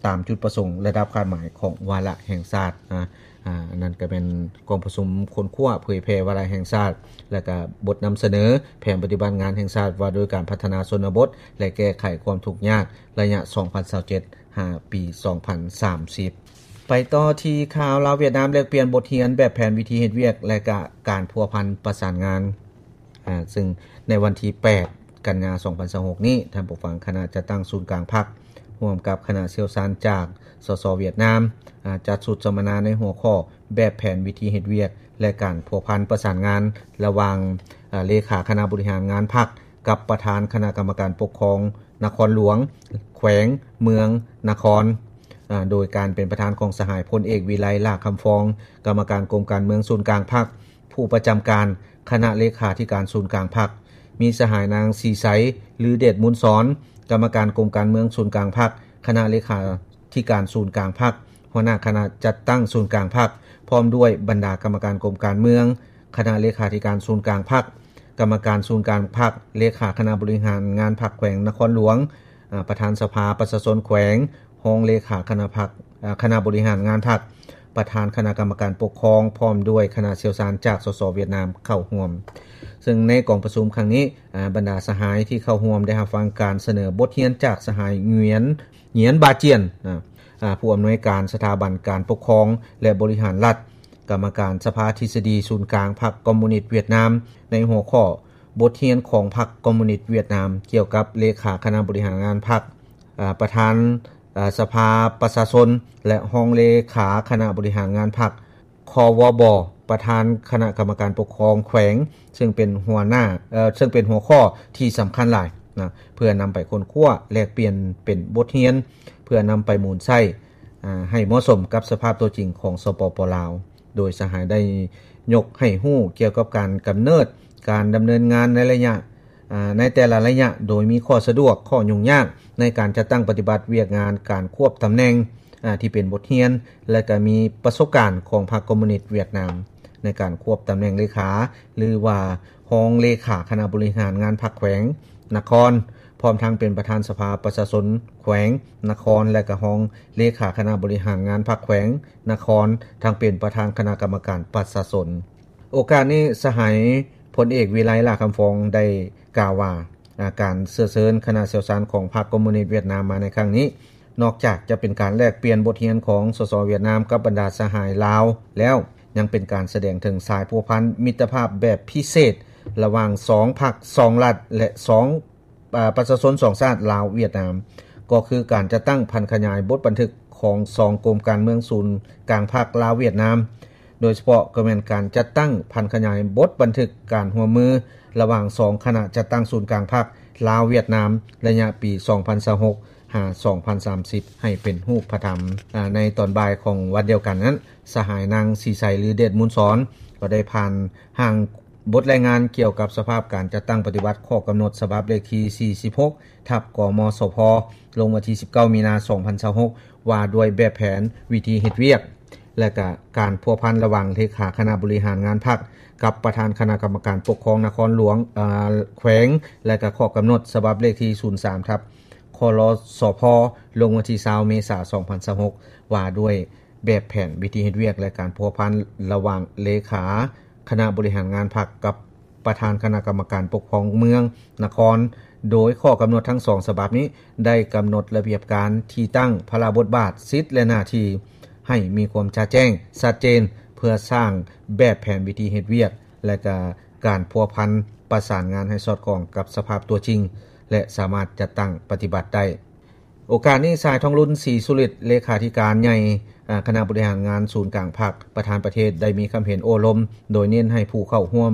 ຕາມຈຸດປະສົງ ແລະ ດັບຄາດໝາຍຂອງວາລະແຫ່ງຊາດ. ອາ ອັນນັ້ນກໍແມ່ນກອງປະຊຸມຄົ້ນຄວ້າເຜີຍແຜ່ວາລະແຫ່ງຊາດ ແລະ ກໍບົດນຳສະເໜີແຜນປະຕິບັດງານແຫ່ງຊາດວ່າດ້ວຍການພັດທະນາຊົນນະບົດ ແລະ ແກ້ໄຂຄວາມທຸກຍາກ ໄລຍະ ສອງພັນຊາວເຈັດ ຫາ ປີ ສອງພັນສາມສິບ. ໄປຕໍ່ທີ່ຂ່າວ ລາວຫວຽດນາມແລກປ່ຽນບົດຮຽນແບບແຜນວິທີເຮັດວຽກ ແລະ ກະການພົວພັນປະສານງານ. ອາ ຊຶ່ງໃນວັນທີແປດ ກັນຍາ ສອງພັນຊາວຫົກນີ້ ທ່ານຜູ້ຟັງ, ຄະນະຈັດຕັ້ງສູນກາງພັກ ຮ່ວມກັບຄະນະຊ່ຽວຊານຈາກ ສສ ຫວຽດນາມ ອາ ຈັດຊຸດສຳມະນາໃນຫົວຂໍ້ແບບແຜນວິທີເຮັດວຽກ ແລະ ການພົວພັນປະສານງານລະຫວ່າງ ອາ ເລຂາຄະນະບໍລິຫານງານພັກ ກັບປະທານຄະນະກຳມະການປົກຄອງນະຄອນຫຼວງ, ແຂວງ, ເມືອງ, ນະຄອນ ອາ ໂດຍການເປັນປະທານຂອງສະຫາຍພົນເອກ ວິໄລ ຫຼ້າຄຳຟອງ ກຳມະການກົມການເມືອງສູນກາງພັກ, ຜູ້ປະຈຳການຄະນະເລຂາທິການສູນກາງພັກ, ມີສະຫາຍນາງ ສີໄຊ ລືເດດມູນສອນ ກຳມະການກົມການເມືອງສູນກາງພັກ, ຄະນະເລຂາທິການສູນກາງພັກ, ຫົວໜ້າຄະນະຈັດຕັ້ງສູນກາງພັກ, ພ້ອມດ້ວຍບັນດາກຳມະການກົມການເມືອງ, ຄະນະເລຂາທິການສູນກາງພັກ, ກຳມະການສູນກາງພັກ, ເລຂາຄະນະບໍລິຫານງານພັກແຂວງນະຄອນຫຼວງ, ອາ ປະທານສະພາປະຊາຊົນແຂວງ, ຮອງເລຂາຄະນະພັກ ອາ ຄະນະບໍລິຫານງານພັກ, ປະທານຄະນະກຳມະການປົກຄອງ ພ້ອມດ້ວຍຄະນະຊ່ຽວຊານຈາກ ສສ ຫວຽດນາມ ເຂົ້າຮ່ວມ. ເຊິ່ງໃນກອງປະຊຸມຄັ້ງນີ້ ອາ ບັນດາສະຫາຍທີ່ເຂົ້າຮ່ວມໄດ້ຮັບຟັງການສະເໜີບົດຮຽນຈາກສະຫາຍ ຫງຽນ ຫງຽນ ບາຈຽນ ອາ ອາ ຜູ້ອຳນວຍການສະຖາບັນການປົກຄອງ ແລະ ບໍລິຫານລັດ, ກຳມະການສະພາທິດສະດີສູນກາງພັກຄອມມູນິດຫວຽດນາມ ໃນຫົວຂໍ້ ບົດຮຽນຂອງພັກຄອມມູນິດຫວຽດນາມ ກ່ຽວກັບເລຂາຄະນະບໍລິຫານງານພັກ, ອາ ປະທານ ອາ ສະພາປະຊາຊົນ ແລະ ຮອງເລຂາຄະນະບໍລິຫານງານພັກ, ຄວບ ປະທານຄະນະກຳມະການປົກຄອງແຂວງ, ເຊິ່ງເປັນຫົວໜ້າ ເຊິ່ງເປັນຫົວຂໍ້ທີ່ສຳຄັນຫຼາຍນະ ເພື່ອນຳໄປຄົ້ນຄວ້າແລກປ່ຽນເປັນບົດຮຽນ ເພື່ອນຳໄປໝູນໃຊ້ ອາ ໃຫ້ເໝາະສົມກັບສະພາບຕົວຈິງຂອງ ສປປ ລາວ. ໂດຍສະຫາຍໄດ້ຍົກໃຫ້ຮູ້ກ່ຽວກັບການກຳເນີດ, ການດຳເນີນງານໃນໄລຍະ ອາ ໃນແຕ່ລະໄລຍະ, ໂດຍມີຂໍ້ສະດວກ, ຂໍ້ຫຍຸ້ງຍາກໃນການຈັດຕັ້ງປະຕິບັດວຽກງານການຄວບຕຳແໜ່ງ ອາ ທີ່ເປັນບົດຮຽນ ແລະ ກະມີປະສົບການຂອງພັກຄອມມູນິດຫວຽດນາມ ໃນການຄວບຕຳແໜ່ງເລຂາ ຫຼືວ່າຮອງເລຂາຄະນະບໍລິຫານງານພັກແຂວງ, ນະຄອນ, ພ້ອມທັງເປັນປະທານສະພາປະຊາຊົນແຂວງ, ນະຄອນ ແລະ ກະຮອງເລຂາຄະນະບໍລິຫານງານພັກແຂວງ, ນະຄອນ, ທັງເປັນປະທານຄະນະກຳມະການປະຊາຊົນ. ໂອກາດນີ້ ສະຫາຍພົນເອກ ວິໄລ ຫຼ້າຄຳຟອງ ໄດ້ກ່າວວ່າ ອາ ການເຊື້ອເຊີນຄະນະຊ່ຽວຊານຂອງພັກຄອມມູນິດຫວຽດນາມມາໃນຄັ້ງນີ້ ນອກຈາກຈະເປັນການແລກປ່ຽນບົດຮຽນຂອງ ສສ ຫວຽດນາມ ກັບບັນດາສະຫາຍລາວແລ້ວ, ຍັງເປັນການສະແດງເຖິງສາຍພົວພັນມິດຕະພາບແບບພິເສດ ລະຫວ່າງສອງພັກ, ສອງລັດ ແລະ ສອງ ອາ ປະຊາຊົນສອງຊາດ ລາວ-ຫວຽດນາມ, ກໍຄືການຈັດຕັ້ງຜັນຂະຫຍາຍບົດບັນທຶກຂອງສອງກົມການເມືອງສູນກາງພັກລາວ-ຫວຽດນາມ, ໂດຍສະເພາະກໍແມ່ນການຈັດຕັ້ງຜັນຂະຫຍາຍບົດບັນທຶກການຮ່ວມມືລະຫວ່າງສອງຄະນະຈັດຕັ້ງສູນກາງພັກລາວ-ຫວຽດນາມ ໄລຍະປີສອງພັນຊາວຫົກ ຫາ ສອງພັນສາມສິບ ໃຫ້ເປັນຮູບປະທຳ. ອາ ໃນຕອນບ່າຍຂອງວັນດຽວກັນນັ້ນ, ສະຫາຍນາງ ສີໄຊ ລືເດດມູນສອນ ກໍໄດ້ຜ່ານຮ່າງ ບົດລາຍງານກ່ຽວກັບສະພາບການຈັດຕັ້ງປະຕິບັດຂໍ້ກຳນົດສະບັບເລກທີສີ່ສິບຫົກ ທັບ ກມສພ ລົງວັນທີສິບເກົ້າ ມີນາ ສອງພັນຊາວຫົກ ວ່າດ້ວຍແບບແຜນວິທີເຮັດວຽກ ແລະ ກະການພົວພັນລະຫວ່າງເລຂາຄະນະບໍລິຫານງານພັກ ກັບປະທານຄະນະກຳມະການປົກຄອງນະຄອນຫຼວງ, ເອີ ແຂວງ ແລະ ກະຂໍ້ກຳນົດສະບັບເລກທີສູນສາມ ທັບ ຄລສພ ລົງວັນທີຊາວ ເມສາ ສອງພັນຊາວຫົກ ວ່າດ້ວຍ ແບບແຜນວິທີເຮັດວຽກ ແລະ ການພົວພັນລະຫວ່າງເລຂາຄະນະບໍລິຫານງານພັກກັບປະທານຄະນະກຳມະການປົກຄອງເມືອງ, ນະຄອນ, ໂດຍຂໍ້ກຳນົດທັງສອງສະບັບນີ້ ໄດ້ກຳນົດລະບຽບການ, ທີ່ຕັ້ງ, ພາລະບົດບາດ, ສິດ ແລະ ໜ້າທີ່ ໃຫ້ມີຄວາມຈະແຈ້ງ, ຊັດເຈນ, ເພື່ອສ້າງແບບແຜນວິທີເຮັດວຽກ ແລະ ກະການພົວພັນປະສານງານໃຫ້ສອດຄ່ອງກັບສະພາບຕົວຈິງ ແລະ ສາມາດຈັດຕັ້ງປະຕິບັດໄດ້. ໂອກາດນີ້ ສາຍທອງລຸນ ສີສຸລິດ ເລຂາທິການໃຫຍ່ ອາ ຄະນະບໍລິຫານງານສູນກາງພັກ ປະທານປະເທດ ໄດ້ມີຄຳເຫັນໂອ້ລົມ ໂດຍເນັ້ນໃຫ້ຜູ້ເຂົ້າຮ່ວມ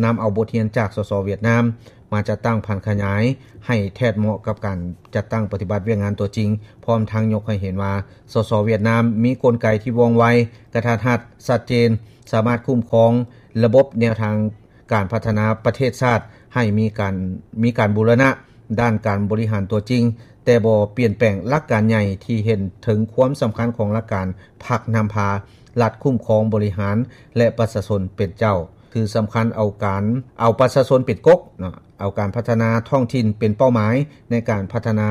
ນຳເອົາບົດຮຽນຈາກ ສສ ຫວຽດນາມ ມາຈັດຕັ້ງຜັນຂະຫຍາຍໃຫ້ແທດເໝາະກັບການຈັດຕັ້ງປະຕິບັດວຽກງານຕົວຈິງ, ພ້ອມທັງຍົກໃຫ້ເຫັນວ່າ ສສ ຫວຽດນາມ ມີກົນໄກທີ່ວ່ອງໄວ, ກະທັດຮັດ, ຊັດເຈນ, ສາມາດຄຸ້ມຄອງລະບົບແນວທາງ ການພັດທະນາປະເທດຊາດໃຫ້ມີການ, ມີການບູລະນະດ້ານການບໍລິຫານຕົວຈິງ, ແຕ່ບໍ່ປ່ຽນແປງຫຼັກການໃຫຍ່ທີ່ເຫັນເຖິງຄວາມສຳຄັນຂອງຫຼັກການພັກນຳພາ, ລັດຄຸ້ມຄອງບໍລິຫານ ແລະ ປະຊາຊົນເປັນເຈົ້າ. ຄືສຳຄັນເອົາການ, ເອົາປະຊາຊົນເປັນກົກເນາະ, ເອົາການພັດທະນາທ້ອງຖິ່ນເປັນເປົ້າໝາຍໃນການພັດທະນາ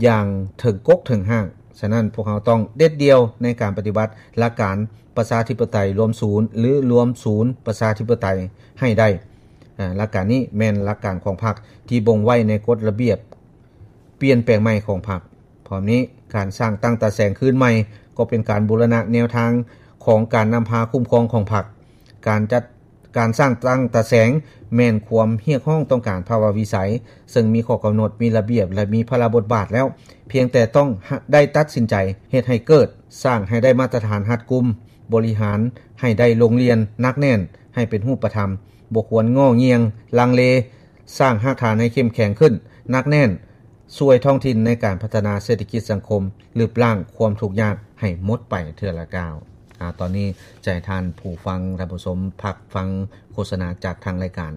ຢ່າງເຖິງກົກເຖິງຮາກ. ສະນັ້ນ ພວກເຮົາຕ້ອງເດັດດ່ຽວໃນການປະຕິບັດຫຼັກການປະຊາທິປະໄຕລວມສູນ ຫຼື ລວມສູນປະຊາທິປະໄຕໃຫ້ໄດ້. ອາ, ຫຼັກການນີ້ແມ່ນຫຼັກການຂອງພັກທີ່ບົ່ງໄວ້ໃນກົດລະບຽບປ່ຽນແປງໃໝ່ຂອງພັກ. ພ້ອມນີ້, ການສ້າງຕັ້ງຕາແສງຄືນໃໝ່ກໍເປັນການບູລະນະແນວທາງຂອງການນຳພາຄຸ້ມຄອງຂອງພັກ. ການຈັດ ການສ້າງຕັ້ງຕາແສງແມ່ນຄວາມຮຽກຮ້ອງຕ້ອງການພາວະວິໄສ, ເຊິ່ງມີຂໍ້ກຳນົດ, ມີລະບຽບ ແລະ ມີພາລະບົດບາດແລ້ວ, ພຽງແຕ່ຕ້ອງໄດ້ຕັດສິນໃຈເຮັດໃຫ້ເກີດ, ສ້າງໃຫ້ໄດ້ມາດຕະຖານຮັດກຸມ, ບໍລິຫານໃຫ້ໄດ້ໂລງລຽນ, ໜັກແໜ້ນ, ໃຫ້ເປັນຮູບປະທຳ, ບໍ່ຄວນງໍ່ງຽງ, ລັງເລ, ສ້າງຮາກຖານໃຫ້ເຂັ້ມແຂງຂຶ້ນ, ໜັກແໜ້ນ, ຊ່ວຍທ້ອງຖິ່ນໃນການພັດທະນາເສດຖະກິດສັງຄົມ, ລຶບລ້າງຄວາມທຸກຍາກໃຫ້ໝົດໄປເທື່ອລະກ້າວ. ອາ, ຕອນນີ້ຈະໃຫ້ທ່ານຜູ້ຟັງ, ທ່ານຜູ້ຊົມ ພັກຟັງໂຄສະນາຈາກທາງລາຍການ.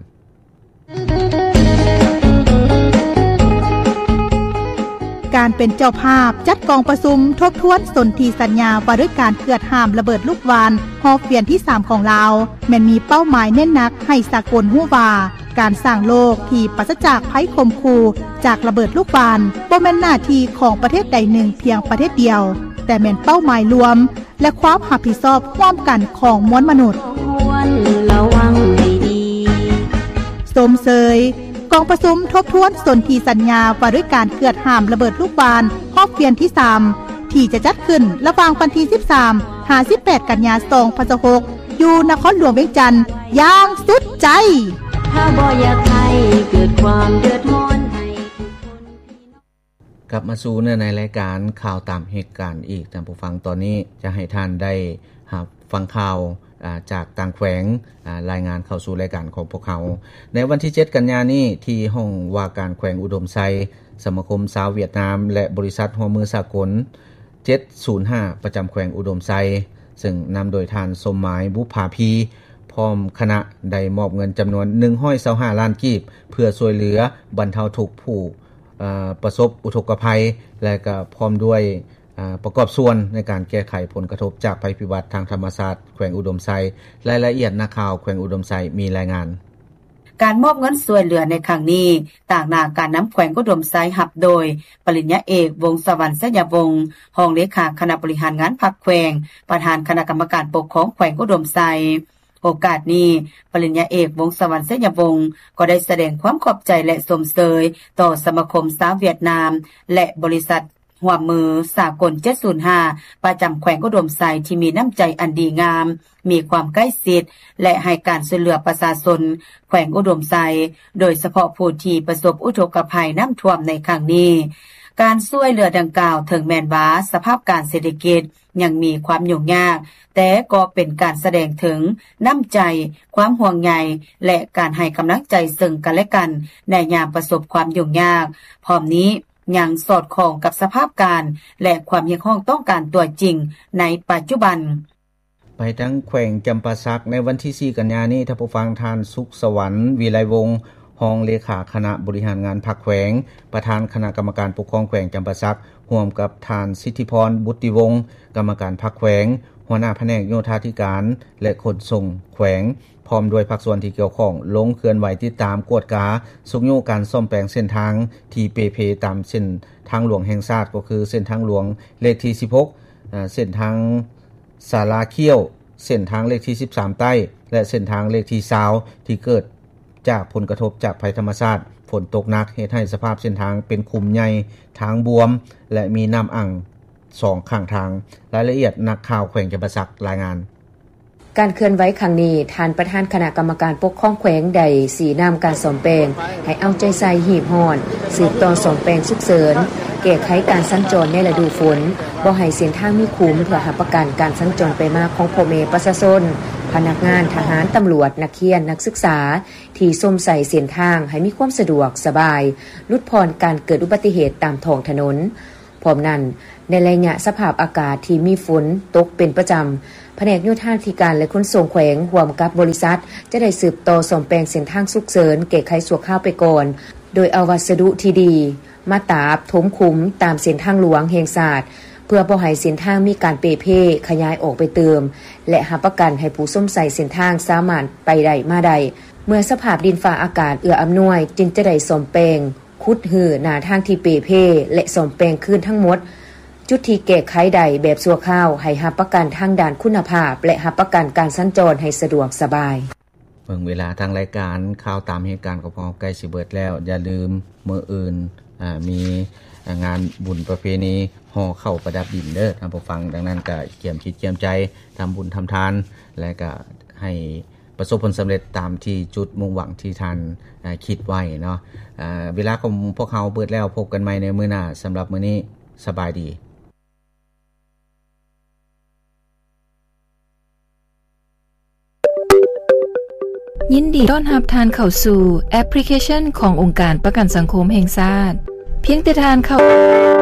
ການເປັນເຈົ້າພາບຈັດກອງປະຊຸມທົບທວນສົນທິສັນຍາວ່າດ້ວຍການເກືອດຫ້າມລະເບີດລູກຫວ່ານຮອບວຽນທີສາມຂອງລາວ ແມ່ນມີເປົ້າໝາຍເນັ້ນໜັກໃຫ້ສາກົນຮູ້ວ່າ ການສ້າງໂລກທີ່ປາສະຈາກໄພຂົ່ມຂູ່ຈາກລະເບີດລູກຫວ່ານ ບໍ່ແມ່ນໜ້າທີ່ຂອງປະເທດໃດໜຶ່ງພຽງປະເທດດຽວ, ແຕ່ແມ່ນເປົ້າໝາຍລວມ ແລະ ຄວາມຮັບຜິດຊອບຮ່ວມກັນຂອງມວນມະນຸດ. ຊົມເຊີຍກອງປະຊຸມທົບທວນສົນທິສັນຍາວ່າດ້ວຍການເກືອດຫ້າມລະເບີດລູກຫວ່ານຮອບວຽນທີສາມ ທີ່ຈະຈັດຂຶ້ນລະຫວ່າງວັນທີສິບສາມ ຫາ ສິບແປດ ກັນຍາ ສອງພັນຊາວຫົກ ຢູ່ນະຄອນຫຼວງວຽງຈັນຢ່າງສຸດໃຈ. ຖ້າບໍ່ຢາກໃຫ້ເກີດຄວາມເດືອດຮ້ອນໃຫ້ທຸກຄົນ. ກັບມາສູ່ເນື້ອໃນລາຍການຂ່າວຕາມເຫດການອີກ, ທ່ານຜູ້ຟັງ, ຕອນນີ້ຈະໃຫ້ທ່ານໄດ້ຮັບຟັງຂ່າວ, ອາ, ຈາກຕ່າງແຂວງ, ອາ, ລາຍງານເຂົ້າສູ່ລາຍການຂອງພວກເຮົາ. ໃນວັນທີເຈັດ ກັນຍານີ້, ທີ່ຫ້ອງວ່າການແຂວງອຸດົມໄຊ, ສະມາຄົມຊາວຫວຽດນາມ ແລະ ບໍລິສັດຮ່ວມມືສາກົນ ເຈັດສູນຫ້າ ປະຈຳແຂວງອຸດົມໄຊ, ເຊິ່ງນຳໂດຍທ່ານ ສົມໝາຍ ບຸບຜາພີ ພ້ອມຄະນະ ໄດ້ມອບເງິນຈຳນວນ ໜຶ່ງຮ້ອຍຊາວຫ້າລ້ານກີບ ເພື່ອຊ່ວຍເຫຼືອບັນເທົາທຸກຜູ້ ເອີ ປະສົບອຸທົກກະໄພ ແລະ ກໍພ້ອມດ້ວຍ ເອີ ປະກອບສ່ວນໃນການແກ້ໄຂຜົນກະທົບຈາກໄພພິບັດທາງທຳມະຊາດແຂວງອຸດົມໄຊ. ລາຍລະອຽດ ນັກຂ່າວແຂວງອຸດົມໄຊມີລາຍງານ. ການມອບເງິນຊ່ວຍເຫຼືອໃນຄັ້ງນີ້ ຕາງໜ້າການນຳແຂວງອຸດົມໄຊຮັບໂດຍ ປະລິນຍາເອກ ວົງສະຫວັນ ໄຊຍະວົງ ຮອງເລຂາຄະນະບໍລິຫານງານພັກແຂວງ, ປະທານຄະນະກຳມະການປົກຄອງແຂວງອຸດົມໄຊ. ໂອກາດນີ້, ປະລິນຍາເອກ ວົງສະຫວັນ ໄຊຍະວົງ ກໍໄດ້ສະແດງຄວາມຂອບໃຈ ແລະ ຊົມເຊີຍຕໍ່ສະມາຄົມຊາວຫວຽດນາມ ແລະ ບໍລິສັດຮ່ວມມືສາກົນ ເຈັດສູນຫ້າ ປະຈຳແຂວງອຸດົມໄຊ ທີ່ມີນ້ຳໃຈອັນດີງາມ, ມີຄວາມໃກ້ຊິດ ແລະ ໃຫ້ການຊ່ວຍເຫຼືອປະຊາຊົນແຂວງອຸດົມໄຊ, ໂດຍສະເພາະຜູ້ທີ່ປະສົບອຸທົກກະໄພນ້ຳຖ້ວມໃນຄັ້ງນີ້. ການຊ່ວຍເຫຼືອດັ່ງກ່າວ, ເຖິງແມ່ນວ່າສະພາບການເສດຖະກິດ ຍັງມີຄວາມຫຍຸ້ງຍາກ, ແຕ່ກໍເປັນການສະແດງເຖິງນ້ຳໃຈ, ຄວາມຫ່ວງໃຍ ແລະ ການໃຫ້ກຳລັງໃຈເຊິ່ງກັນແລະກັນໃນຍາມປະສົບຄວາມຫຍຸ້ງຍາກ. ພ້ອມນີ້ຍັງສອດຄ່ອງກັບສະພາບການ ແລະ ຄວາມຮຽກຮ້ອງຕ້ອງການຕົວຈິງໃນປັດຈຸບັນ. ໄປທາງແຂວງຈຳປາສັກ, ໃນວັນທີສີ່ ກັນຍານີ້, ທ່ານຜູ້ຟັງ, ທ່ານ ສຸກສະຫວັນ ວິໄລວົງ ຮອງເລຂາຄະນະບໍລິຫານງານພັກແຂວງ, ປະທານຄະນະກຳມະການປົກຄອງແຂວງຈຳປາສັກ, ຮ່ວມກັບທ່ານ ສິດທິພອນ ບຸດຕິວົງ ກຳມະການພັກແຂວງ, ຫົວໜ້າພະແນກໂຍທາທິການ ແລະ ຂົນສົ່ງແຂວງ, ພ້ອມດ້ວຍພາກສ່ວນທີ່ກ່ຽວຂ້ອງ ລົງເຄື່ອນໄຫວຕິດຕາມກວດກາຊຸກຍູ້ການສ້ອມແປງເສັ້ນທາງທີ່ເປ່ເພຕາມເສັ້ນທາງຫຼວງແຫ່ງຊາດ, ກໍຄືເສັ້ນທາງຫຼວງເລກທີສິບຫົກ, ເສັ້ນທາງ ສາລາຄ້ຽວ, ເສັ້ນທາງເລກທີສິບສາມໃຕ້ ແລະ ເສັ້ນທາງເລກທີຊາວ ທີ່ເກີດຈາກຜົນກະທົບຈາກໄພທຳມະຊາດ, ຝົນຕົກໜັກເຮັດໃຫ້ສະພາບເສັ້ນທາງເປັນຂຸມໃຫຍ່, ທາງບວມ ແລະ ມີນ້ຳອັ່ງສອງຂ້າງທາງ. ລາຍລະອຽດ ນັກຂ່າວແຂວງຈຳປາສັກລາຍງານ. ການເຄື່ອນໄຫວຄັ້ງນີ້, ທ່ານປະທານຄະນະກຳມະການປົກຄອງແຂວງໄດ້ຊີ້ນຳການສ້ອມແປງໃຫ້ເອົາໃຈໃສ່ຮີບຮ້ອນ, ສືບຕໍ່ສ້ອມແປງສຸກເສີນ, ແກ້ໄຂການສັນຈອນໃນລະດູຝົນ, ບໍ່ໃຫ້ເສັ້ນທາງມີຂຸມ ເພື່ອຮັບປະກັນການສັນຈອນໄປມາຂອງພໍ່ແມ່ປະຊາຊົນ, ພະນັກງານ, ທະຫານ, ຕຳຫຼວດ, ນັກຮຽນ, ນັກສຶກສາ ທີ່ຊົມໃຊ້ເສັ້ນທາງໃຫ້ມີຄວາມສະດວກສະບາຍ, ຫຼຸດຜ່ອນການເກີດອຸບັດຕິເຫດຕາມທ້ອງຖະໜົນ. ພ້ອມນັ້ນ, ໃນໄລຍະສະພາບອາກາດທີ່ມີຝົນຕົກເປັນປະຈຳ, ພະແນກໂຍທາທິການ ແລະ ຂົນສົ່ງແຂວງ ຮ່ວມກັບບໍລິສັດ ຈະໄດ້ສືບຕໍ່ສ້ອມແປງເສັ້ນທາງສຸກເສີນ, ແກ້ໄຂຊົ່ວຄາວໄປກ່ອນ, ໂດຍເອົາວັດສະດຸທີ່ດີ ມາຕາບຖົມຂຸມຕາມເສັ້ນທາງຫຼວງແຫ່ງຊາດ ເພື່ອບໍ່ໃຫ້ເສັ້ນທາງມີການເປ່ເພຂະຫຍາຍອອກໄປຕື່ມ ແລະ ຮັບປະກັນໃຫ້ຜູ້ຊົມໃຊ້ເສັ້ນທາງສາມາດໄປໄດ້ມາໄດ້. ເມື່ອສະພາບດິນຟ້າອາກາດເອື້ອອຳນວຍ, ຈຶ່ງຈະໄດ້ສ້ອມແປງ, ຂຸດຮື້ໜ້າທາງທີ່ເປ່ເພ ແລະ ສ້ອມແປງຄືນທັງໝົດ. ຈຸດທີ່ແກ້ໄຂໄດ້ແບບຊົ່ວຄາວ ໃຫ້ຮັບປະກັນທາງດ້ານຄຸນນະພາບ ແລະ ຮັບປະກັນການສັນຈອນໃຫ້ສະດວກສະບາຍ. ເບິ່ງເວລາທາງລາຍການ ຂ່າວຕາມເຫດການຂອງພວກເຮົາໃກ້ຊິເບິດແລ້ວ. ຢ່າລືມ ມື້ອື່ນ ອາ ມີ ອາ ງານບຸນປະເພນີຫໍ່ເຂົ້າປະດັບດິນເດີທ່ານຜູ້ຟັງ. ດັ່ງນັ້ນກະກຽມຈິດກຽມໃຈທຳບຸນທຳທານ ແລະກະໃຫ້ປະສົບຜົນສຳເລັດຕາມທີ່ຈຸດມຸ່ງຫວັງທີ່ທ່ານ ອາ ຄິດໄວ້ເນາະ. ອາ ເວລາຂອງພວກເຮົາເບິດແລ້ວ. ພົບກັນໃໝ່ໃນມື້ໜ້າ. ສຳລັບມື້ນີ້ ສະບາຍດີ. ຍິນດີຕ້ອນຮັບທ່ານເຂົ້າສູ່ແອັບພລິເຄຊັນຂອງອົງການປະກັນສັງຄົມແຫ່ງຊາດ. ພຽງແຕ່ທ່ານເຂົ້າ